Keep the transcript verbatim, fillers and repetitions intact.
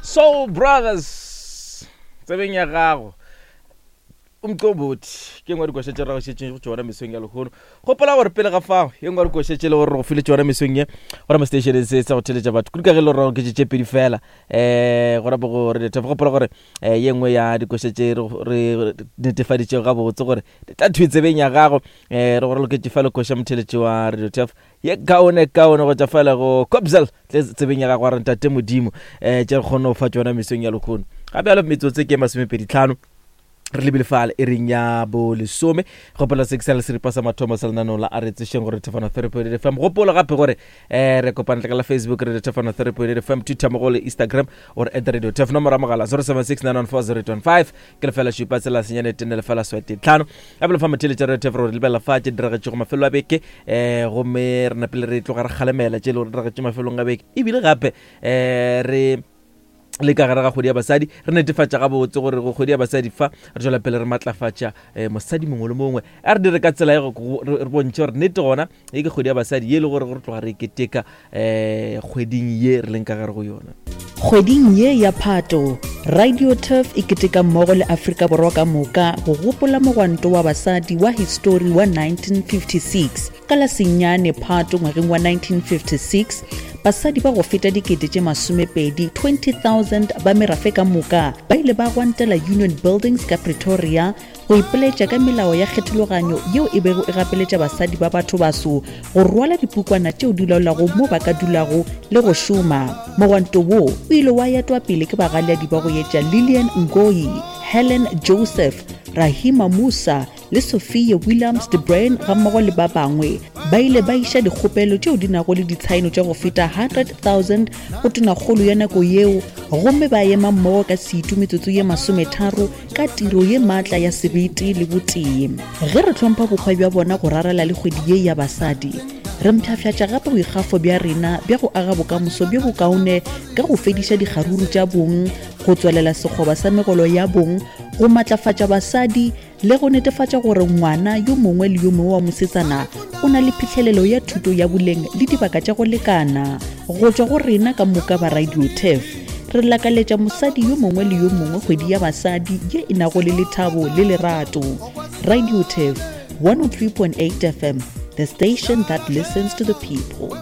Soul Brothers tsebeng ya gago umqombothi ke ngwe dikoša tše re go šetšeng go tšona mesong ya lehono. Gopola gore pele ga fao ye nngwe dikoša tše le gore re go file tšona mesong ye gona mo stationeng se sa go theletša batho kudu ka ge e le gore ke tše pedi fela um gona bo go re gopola gore um ye nngwe ya dikoša tše re netefaditšego gabotse gore di tla thwi tsebeng ya gago um re gore loketše fa le koša motheletši wa Radio Turf ye kaone kaone go tša fela go Cobzel tle tsebeng ya gago wa re ntate Modimo um tše re kgone go fa tšona mesong ya lehono. Gape jalo metsotso ke masomepedi tlhano re lebile fale e reng ya bo lesome. Gopola se ke sa le seripa sa mathomo sa lenaneo la a re tsešeng gore Thefano three point eight F M. Gopola gape gore um re kopana ka la Facebook Radio Thefano three point eight F M, Twitter mo go le Instagram or at Radio Tef. Nomoro ya mogala zero seven six nine one four zero eight one five ke lefela šupa tsela senyane tene lefela swete tlhano. Gape le fa motheletša Radio Tef gore lebelela fa tše diragetšego mafelo a beke um gomme re napele re tloga re kgalemela tše e le gore diragetše mafelong a beke, ebile gape um re le ka gare ga kgwedi ya basadi re netefatša gabotse gore go kgwedi ya basadi fa re tswela pele re matlafatša um mosadi mongwe le mongwe. A re dire ka tsela e re bontšhe gore nnete gona e ke kgwedi ya basadi ye e le gore gore tloga re keteka um kgweding ye re leng ka gare go yona. Kgweding ye ya Phato, Radio Turf e keteka mmogo le Afrika Borwa ka moka go gopola mogwanto wa basadi wa histori wa nineteen fifty-six. Ka la senyane Phato ngwageng wa nineteen fifty-six, basadi ba go feta dikete tše masomepedi twenty thousand ba merafe ka moka ba ile ba gwantela Union Buildings ka Pretoria go ipoletša ka melao ya kgethologanyo yeo e bego e gapeletša basadi ba batho baso go rwala dipukwana tšeo di laolago mo ba ka dulago le go šoma. Mogwanto wo o ile wa etwa pele ke bagaleadi ba go etša Lilian Ngoyi, Helen Joseph, Rahima Musa le Sophia Williams de Bruyn gammogo le ba bangwe. Ba ile ba iša dikgopelo tšeo di nago le ditshaeno tša go feta one hundred thousand go tonakgolo ya nako yeo gomme ba ema mmogo ka setu metsotso ye masometharo ka tiro ye maatla ya sebete le botee. Ge re hlompha bokgwa bja bona go rarela le kgwedi ye ya basadi, re mpshafhatša gape boikgafo bja rena bja go aga bokamoso bjo bokaone ka go fediša dikgaruru tša bong, go tswelela sekgoba sa megolo ya bong, go matlafatša basadi le go netefatša gore ngwana yo mongwe le yo mongwe wa mosetsana o na le phihlelelo ya thuto ya boleng le dibaka tša go lekana. Go tšwa go rena ka moka ba Radio Turf, re lakaletša mosadi yo mongwe le yo mongwe kgwedi ya basadi ye e nago le lethabo le lerato. Radio Turf one oh three point eight F M, the station that listens to the people.